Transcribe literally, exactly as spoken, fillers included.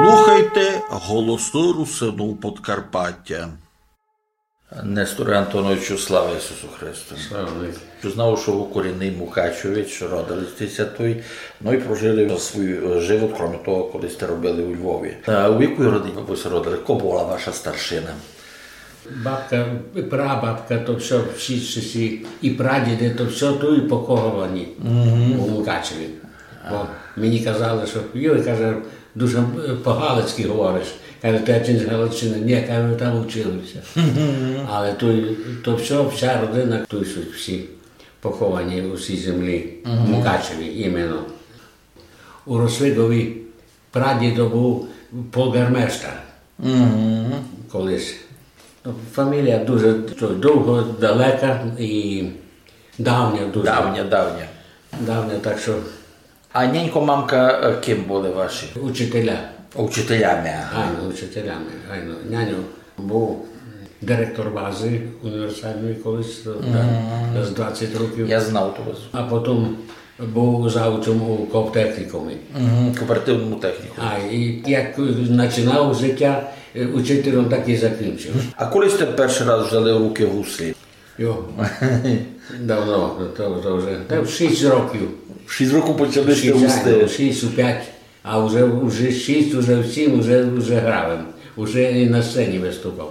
Слухайте Голосы Русинув Подкарпатя. Несторе Антоновичу, слава Ісусу Христу! Слава навікы. Знав, што вы корінный мукачевець, родили сьте ся туй, ну і прожили свій, е, живот, кроме того, коли сьте робили у Львові. А у якій родині вы ся родили? Ко была ваша старшина? Бабка, прабабка, то всьо, всі, всі, всі, і прадіди, то всьо туй поховані у Мукачеві. Бо мені казали, што, йой, каже, дуже, е, по-галицькы говориш. Каже, ти чи з Галичины? Ні, каже, там учили ся. Але туй, то всьо, вся родина, туй суть всі поховані у сій землі, у Мукачеві іменно. У Росвигові прадідо быв полґармештар колись. Ну, фамілія дуже то, довга, далека і давня дуже. Давня, давня. Давня, так што... А нянько, мамка, е, ким были ваші? Учителя. Учителями, ага. Айно, учителями, айно. Няньо быв директор базы універсальної колись, то, так, з двадцять років. Я знав ту базу. А потім быв завучом у ковтехнікумі. Мгм, кооперативному технікумі. А, і як начинав життя, е, учителем, так і закінчив. А коли сьте першый раз взяли в рукы гуслі? Йо, давно, то, то вже, та в шість років. В шість років почали сьте гуслі? Шість, айно, шість, у пять, а вже, вже шість, вже в сім, вже, вже грав им. Уже і на сцені выступав.